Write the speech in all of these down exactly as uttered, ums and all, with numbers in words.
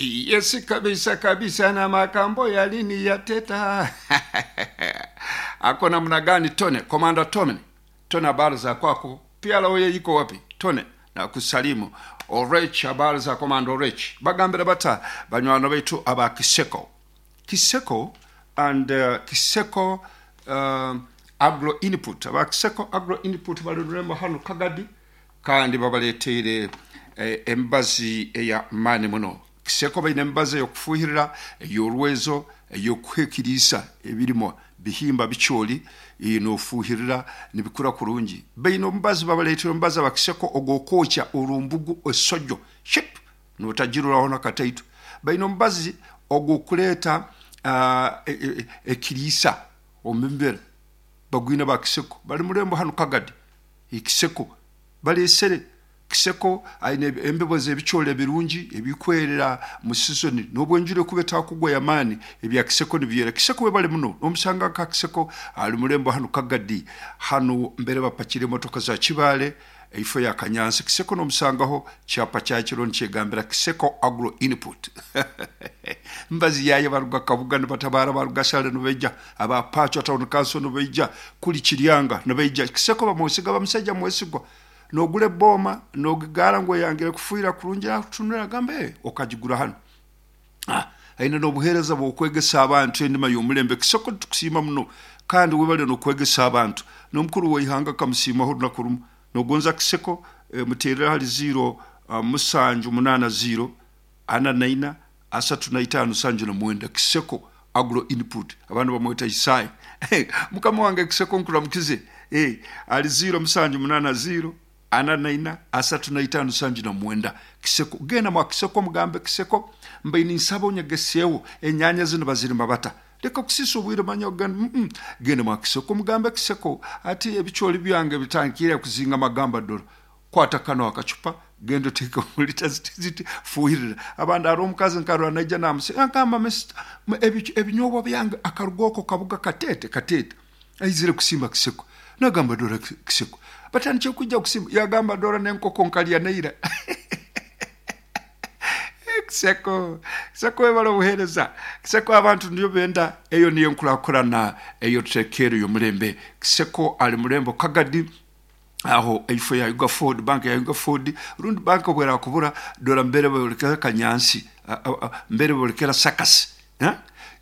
Yes, kabisa kabisa, na makambo yalini yateta ako namna gani? Tone Komanda Tone, Tone, habari za kwako? Pia oye iko wapi? Tone na kusalimu Orech, habari za Komanda Orech. Bagambira bata banywano baitu aba Kiseko Kiseko and uh, Kiseko um, agro input, aba Kiseko agro input bali rurembo hano Kagadi, kandi babaleteire eh, embazi eya mani muno. Kiseko baine embazi eyokufuhirira, ey'orwezo, ey'okuhikiriisa ebirimo bihimba bikyoli nofuhirira nibikura kurungi. Baine omubazi, babaleetera omubazi abakiseko ogw'okwokya orumbugu esojjo ship notagiruraho nakataito. Baine omubazi ogw'okuleeta uh, ekiriisa omu mbera bagwine bakiseko bali murembo hano Kagadi. Ekiseko balesere Kiseko aine embibo z'ebikyole ebirungi ebikwerera mu season n'obwenjura kuba etakugwa yamaani, ebya Kiseko nibyera. Kiseko webale muno n'omusanga nka Kiseko ali murembo hano Kagadi, hano mbere bapakira emotoka za Kibaale eifo ya Kanyansi. Kiseko n'omusangaho kyapa kyakiro nikyegambira Kiseko agro input mbazi yaye baruga Kabuga nibatabara, baruga Shale nibaija, aba Pacho town council nibaija, kuli Kiryanga nibaija. Kiseko bamwesiga, bamusajja mwesigwa. Nogula ebbooma nogigara ngu oyangire kufuira kurungi, akutunura agambe okagigura hano. Ah, aine n'obuheereza bw'okwegesa abantu endima y'omulembe. Kiseko tukusiima muno kandi webale n'okwegesa abantu, n'omukuru w'eihanga kamusiimaho olunaku rumu. Nogonza Kiseko e, muteerera hali ziro uh, musanju munaana ziro ana naina asatu na itaano sanju na mwenda. Kiseko agro input abantu bamweta Isai mukama wange Kiseko nkuramukize. Eh, ali ziro musanju munaana ziro ana naina asatu na itaano sanju na mwenda. Kiseko genda mwa Kiseko mugambe Kiseko mbaini nsaba onyegeseewo enyanya zino bazirima bata, leka kusisa obwire manya ogenda mm -mm. Genda mwa Kiseko mugambe Kiseko ati ebikyoli byange bitandikire kuzinga magamba doro, kwata kano akacupa genda oteeke mu lita ziti ziti fuhirira. Abandi ari omukazi nkarora naija namuse agamba ebinyobwa byange akaruga oko Kabuga katete katete aizire kusimba Kiseko, nagamba dora Kiseko batandikire kujja kusimba, yagamba dora n'enkoko nkalya neira. Kiseko Kiseko webale obuheereza Kiseko, abantu niyo benda eyo niyo nkurakurana eyo tutekeero y'omulembe. Kiseko ali murembo Kagadi aho eifo ya Yuga Ford bank ya Yuga Ford rundi bank obwera kubura dora mbere bolekera Kanyansi mbere bolekera Sakasi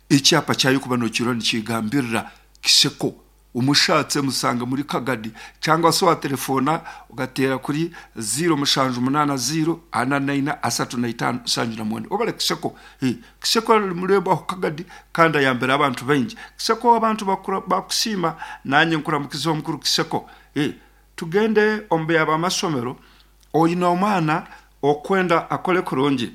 ekyapa kyayo kuba nokiro nikigambirira Kiseko. Umushatse musanga muri Kagadi cyangwa se wa telefona ugatera kuri ziro mushanju munana ziro ana naina asatu na itanu sanju na mwenda. Obale Kiseko. Hey, Kiseko ali murembo aho Kagadi kandi ayambera abantu baingi. Kiseko abantu bakusima nanye nkuramukiza omukuru Kiseko. Hey, tugende ombe abamasomero oyina omwana okwenda akole kurungi,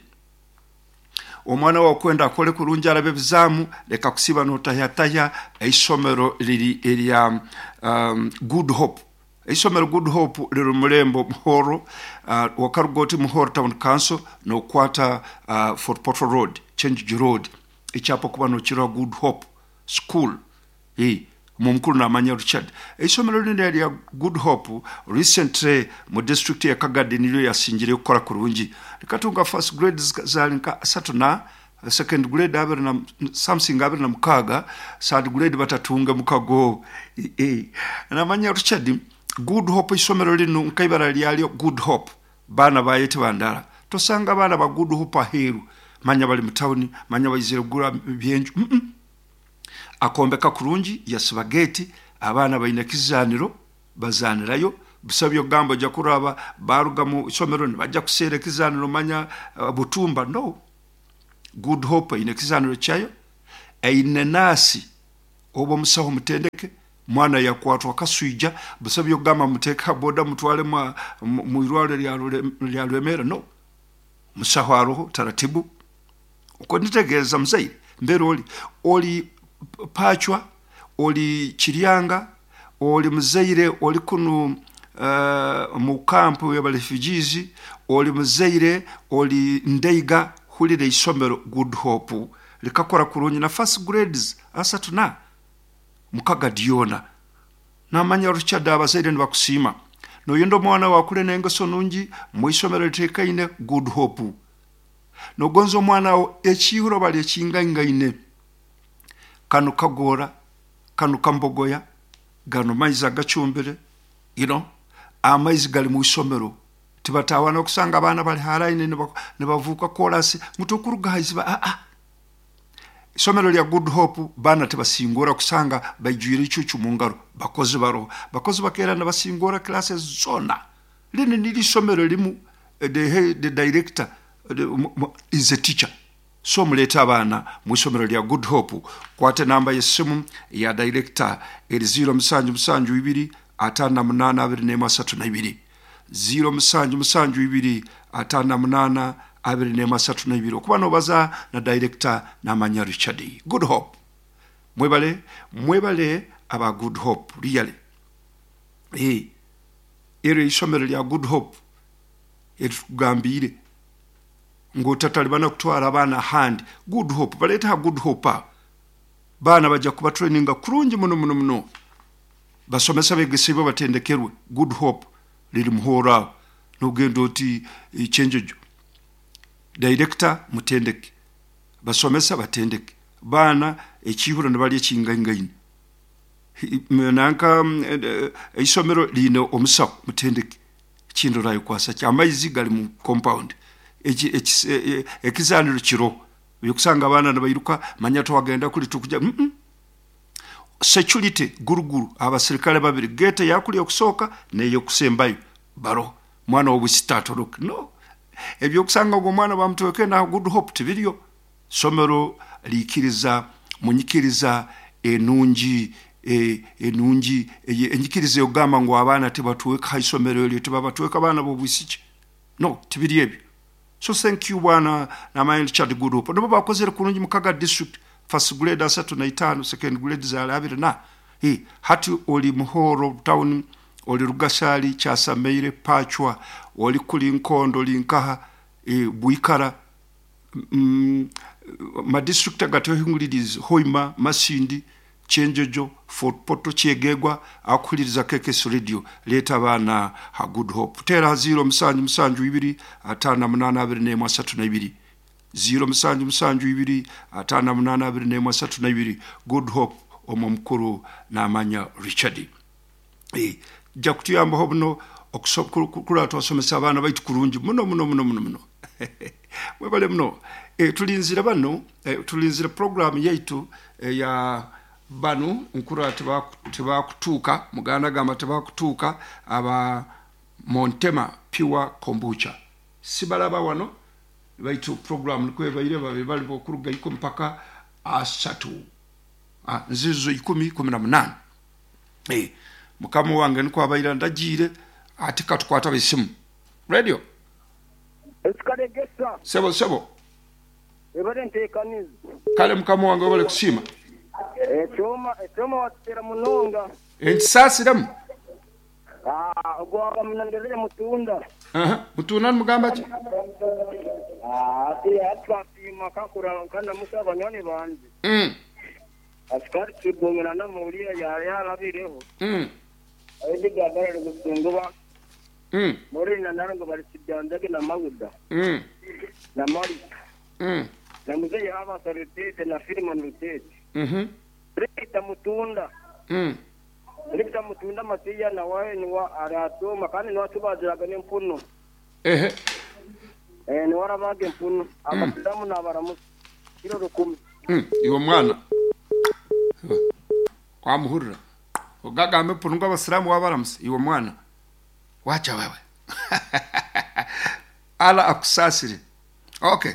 omwana wakwenda akole kurungi arabe bizamu, leka kusiba notahya eisomero liri erya um, Good Hope. Eisomero Good Hope liri murembo Muhoro, uh, wakarugoti Muhoro town council nokwata uh, Fort Portal Road Change Road ekyapa kuba nokirwa Good Hope School. Hey, mumukuru namanya Richard eisomero lino lya Good Hope recently mu district ya Kagadi nilyo yasingire kukora kurungi, likatunga first grade zali nka asatu na second grade abiri na something abiri na mukaga, third grade batatunga mukago. E, e. Namanya Richard Good Hope isomero lino nkaibara lyalyo Good Hope bana bayete bandala tosanga bana ba Good Hope aheru manya bali mutawuni manya bayizire kugura byenju mm -mm. Akombeka kurungi yasiba geti abaana baine kizaniro bazanirayo busabye ogamba ojja kuraba baruga mu isomero nibajja kuseera ekizaniro manya uh, butumba no. Good Hope eine ekizaniro kyayo, eine naasi oba omusaho mutendeke mwana yakwatwa kaswija busabye ogamba muteeka boda mutwale mu irwaliro lya Lwemera no. Musaho aroho taratibu uko nitegeeza muzaire mbere oli oli Pachwa oli Kiryanga oli muzaire oli kunu uh, mu kampu y'aba refugees oli muzaire oli Ndeiga hulire isomero Good Hope likakora kurungi na first grades asatu na mukaga diona. Namanya Richard abazaire nibakusiima noyenda omwana wakule n'engeso nungi mu isomero litekaine Good Hope. Nogonza omwana wo ekihuro bali ekingaingaine. Kanu kagora, kanu kambogoya, gano maizi agacumbire, you know, amaizi gali mu isomero. Tibatawana okusanga abaana bali haraine nibavuka korasi mutukuruga haiziba a a. Isomero lya Good Hope bana tebasingora kusanga baijwire icucu mu ngaro, bakozi baro, bakozi bakera nabasingora classes zona. Lini nili isomero limu the, the director the, is a teacher. So muleta abaana mu isomero lya Good Hope. Kwate namba y'essimu ya director eri zero musanju musanju ibiri atano na munaana abiri n'emu asatu na ibiri. zero musanju musanju ibiri atano na munaana abiri n'emu asatu na ibiri. Okuba nobaza na director Namanya Richard. Good Hope. Mwebale, mwebale aba Good Hope really. Eh, ero isomero lya Good Hope eritugambire ng'otatalibana kutwara abaana ahandi. Good Hope baleeta ha Good Hope aho. Baana bajja kuba traininga kurungi muno muno muno. Basomesa begesebwa batendekerwe. Good Hope liri muhoro aho. Nogenda oti Kyenjojo. Director mutendeke, basomesa batendeke, baana ekihuro nibalya ekingaingaine. Nanka isomero line omusawo mutendeke. Ekindi orayikwasa ki amaizi gali mu compound. Ekizaniro kiro byokusanga abaana nibairuka manya twagenda kuli tukuja. Mm -mm. Security guruguru abasirikale babiri gate yakuli okusooka neyo kusembayo baro mwana obusitatu no ebyokusanga ogwo mwana bamutweke na Good Hope tibiriyo. Somero likiriza munyikiriza enungi e, enungi enyikiriza yogamba ngu abaana tebatweka ha isomero eryo tebabatweka abaana b'obwisiki no tibiri ebyo. So thank you bwana Namanya Richard Good Hope. Nabo bakozere kurungi mukaga district first grade asatu na itaano, second grade za abiri na hey, hati oli Muhoro town, oli Rugasali, Kyasameire, Pachwa, oli kuli Nkondo, Linkaha, e, Bwikara, mm, ma district agatwehinguliriza Hoima, Masindi, Kyenjojo, Fort Portal, Kyegegwa, akuhuliriza K K S Radio. Leeta abaana ha Good Hope. Teera zero musanju musanju ibiri atano na munaana abiri n'emu asatu na ibiri. zero musanju musanju ibiri atano na munaana abiri n'emu asatu na ibiri. Good Hope omwo mukuru Namanya Richard. E, jja kutuyambaho buno okusobola twasomesa abaana baitu kurungi muno muno muno muno muno. Mwebale muno. E, tulinzira bano, e, tulinzira program yaitu e, ya bano nkura tebakutuuka muganda gamba tebakutuuka aba Montema Pure Kombucha. Sibalaba wano baitu program nikwebaire babe bali okuruga ikumi mpaka asatu. Ah, nzizo ikumi kumi na munana. Eh, mukama wange niko abaira ndagiire ati katukwata bisimu. Radio. Esikaregesa. Sebo sebo. Ebale ntekaniza. Kale mukama wange obale kusima. Echoma echoma watera munonga. Entisasiramu. Ah, ogwaba munanderere mutunda. Aha, mutunda mugamba ki? Ah, ati atwapima kakura kana musaba nyoni banze. Mm. Askari kibongera na muliya yari yarabireho. Mm. Ayiga bare gusunguba. Mm. Muri na narango bari kibyanzage na mawuda. Mm. Na mari. Mm. Na muzeyi aba sarutete na Filimon Rutete. Mhm. Rita mutunda. Mm. Rita mutunda matiya na wae ni wa aratoma kandi ni watubaziraga n'empuno. Ehe. Eh ni warabaga empuno. Abasilamu n'abaramusi. Kiro rukumi. Mm. Iwe mwana. Kwamuhurira. Ogagambe empuno ngo abasilamu wabaramusi. Iwe mwana. Wacha wewe. Ala akusasire. Okay.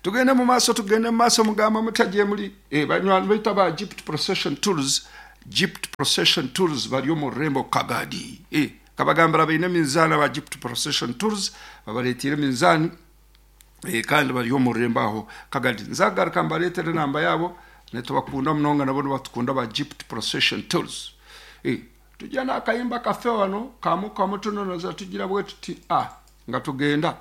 Tugende mu maaso, tugende mu maaso mugamba mutagiye muri eh banywanyi baita ba Egypt Procession Tours. Egypt Procession Tours bari mu Rembo Kagadi. Eh kabagambira baine minzani ba Egypt Procession Tours babaretire minzani eh kandi bari mu Rembo aho Kagadi. Nzagaruka mbaretere namba yabo netubakunda munonga nabo batukunda ba Egypt Procession Tours. Eh tujya nakayimba kafe wano kamu kamu tunonoza tugira bwe tuti ah nga tugenda.